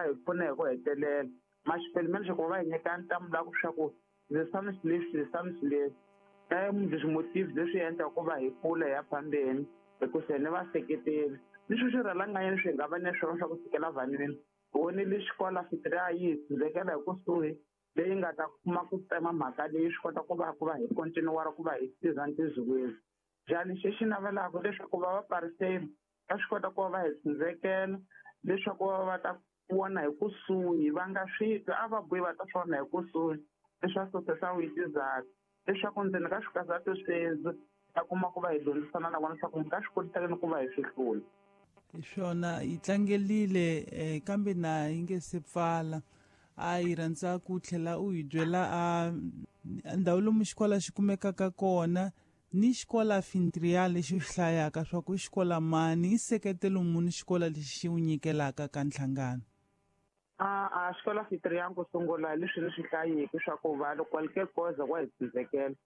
va hi pfuna hi ku hetelela ma xipelo ku va hi nyika ntamu la ku swa ku leswi leswi leswi leswi leswi leswi endla ku va hi kula hi ya phambeni hikusa ni vaseketeli ni swi swi rhalanganyeni swi nga va ni swona swa ku fikela vanhwini vonile xikola fitria yi hi tshundzekela hi kusuhi leyi nga ta kuma ku tsema mhaka leyi swi kota ku va ku va hi continuara ku va hi tirha ntirho njhani xi xi navelaka leswaku va va pariseni va swi kota ku va va hi tshundzekela leswaku va va ta vona hi kusuhi va nga swi twi a va buyi va ta swi vona hi kusuhi leswaku sosesa witizaka leswaku ndzeni ka swikazatu sweswi ta kuma ku va hi dyondzisana na vona leswaku mi nga swi kotisa ku va hi swi hlula. Hi swona yi tlangelile kambe na yi nge se pfala a yi rhandza ku tlhela u hi byela a ndhawu lomu xikola xi kumekaka kona ni xikola fintria lexi u xi hlayaka swa ku xikola mani i seketelo muni xikola lexi xi wu nyikelaka ka nhlangano. A xikola fintria ku sungula leswi ni swi hlayiki swa ku va loko qualquer cosa wa hi tsindzekela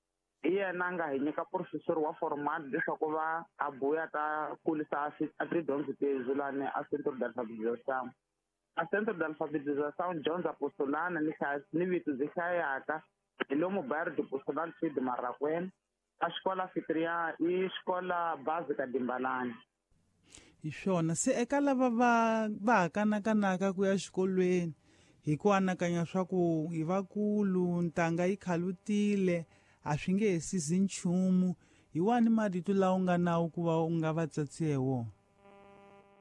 hi yena a nga hi nyika professor wa formal leswaku va a buya ta kulisa a tidyondzo tezulani a centro d'alfabetização a centro d'alfabetização dyondza postulana ni hlaya ni vito byi hlayaka hi lomu bairro de Postulano Sid Marraquene a xikola fitria i xikola básica Dimbalani. Hi swona se eka lava va va ha kanakanaka ku ya xikolweni hi ku anakanya swa ku hi vakulu ntanga yi khalutile a swi nge he sizi nchumu hi wani marito lawa u nga nawu ku va u nga va tsatsihe wona.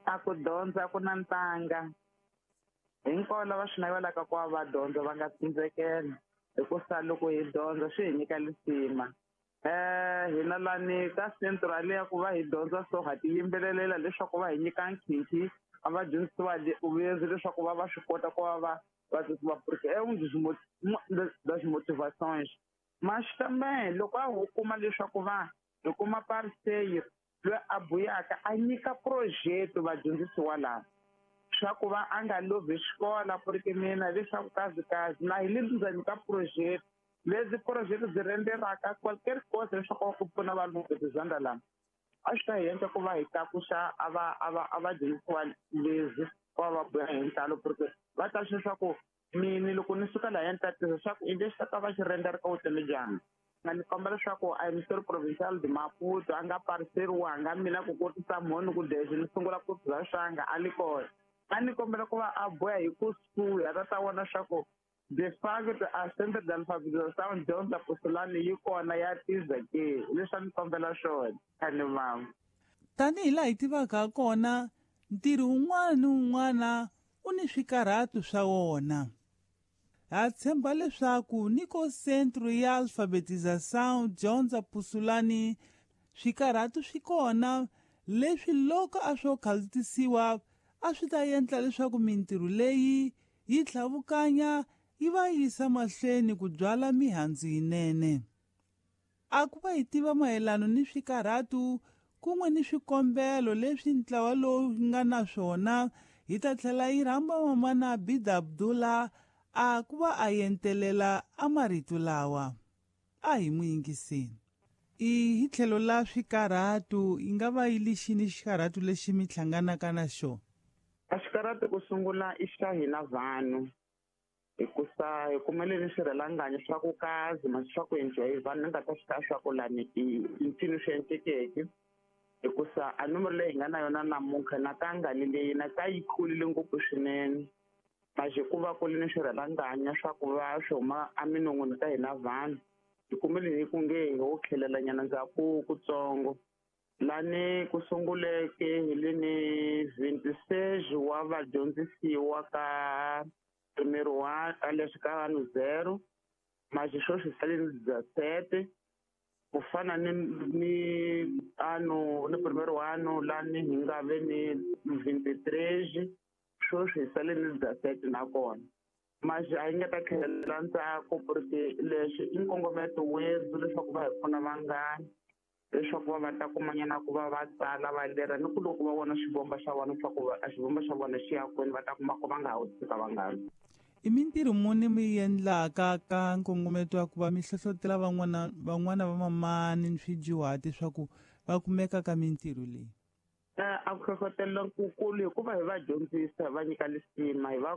A ku dyondza ku na ntanga hinkwavo lava swi navelaka ku va va dyondza va nga tsindzekela hikusa loko hi dyondza swi hi nyika lisima. Hina lani ka central ya ku va hi dyondza so ha ti yimbelelela leswaku va hi nyika nkhinkhi a va dyondzisiwa vuyezi leswaku va va swi kota ku va va va va porque é um dos das motivações mas também loko a ho kuma leswaku va hi kuma parceiro loyi a buyaka a nyika projeto vadyondzisiwa lava swa ku va a nga lovhi xikola porque mina leswaku kazi kazi na hi le ndzeni ka projeto lezi projeto byi renderaka qualquer cosa leswaku va ku pfuna vanhu zanda lama a swi ta hi endla ku va hi tlakusa a va a va a va dyondzisiwa lezi va va buya hi ntalo porque va ta swi leswaku mini loko ni suka laha ni tatisa swa ku i lexi ta ta va xi rendera ka vutomi bya mina nga ni komba leswaku a ministeri provincial de Maputo a nga pariseriwanga mina ku kotisa mhoni ku dexi ni sungula ku bya swanga a li kona a ni kombela ku va a boya hi kusuhi a ta ta vona swa ku de facto a centre d'alphabetização dyondza postulani yi kona ya tiza ke leswi a ni kombela swona a ni mama. Tanihi laha hi tivaka kona ntirho wun'wana ni wun'wana u ni swikarhato swa wona. Ha tshemba leswaku ni ko centro ya alfabetização dyondza pusulani swikarhato swi kona leswi loko a swo khalutisiwa a swi ta endla leswaku mintirho leyi yi tlhavukanya yi va yisa mahlweni ku byala mihandzu yinene. A ku va hi tiva mayelano ni swikarhato kun'we ni swikombelo leswi ntlawa lowu nga na swona hi ta tlhela yi rhamba mamana Bida Abdullah a ku va a yentelela a marito lawa a hi n'wi yingiseni. I hi tlhelo la swikarhato yi nga va yi lexini xikarhato lexi mi hlanganaka na xona? A xikarhato ku sungula i xa hina vanhu hikusa hi kumele ni swirhalanganyi swa ku kazi masi swa ku enjoy vanhu ni nga ta swi ta swa ku lani i ncini swi endlekeke hikusa a nomoro leyi hi nga na yona namuntlha na ka ngali leyi na ka yi kulile ngopfu swinene mas hikuva ku li ni swirhalanganya swa ku va swi huma eminon'wini ka hina vanhu hi kumele hi ku nge ho tlhelelanyana ndzhaku kutsongo lani ku sunguleke hi le ni 26 wa vadyondzisiwa ka primero wa ka leswi ka vanhu 0 mas sweswi sale ni 17 ku fana ni ni ano ni primero ano lani hi nga ve ni 23 sweswi hi sale ni 17 nakona mas a yi nga ta tlhelela ndzhaku porque leswi i nkongometo werhu leswaku va hi pfuna vanghana leswaku va va ta kumanyana ku va va tsala va lera ni ku loko va vona xivomba xa vona swa ku a xivomba xa vona xi ya kwini va ta kuma ku va nga ha wu tshika vanghana. I mintirho muni mi yi endlaka ka nkongometo wa ku va mi hlohlotela van'wana van'wana va mamani ni swidyuhati swa ku va kumeka ka mintirho leyi? A ku hlohlotelo kukulu hikuva hi va dyondzisa hi va nyika lisima hi va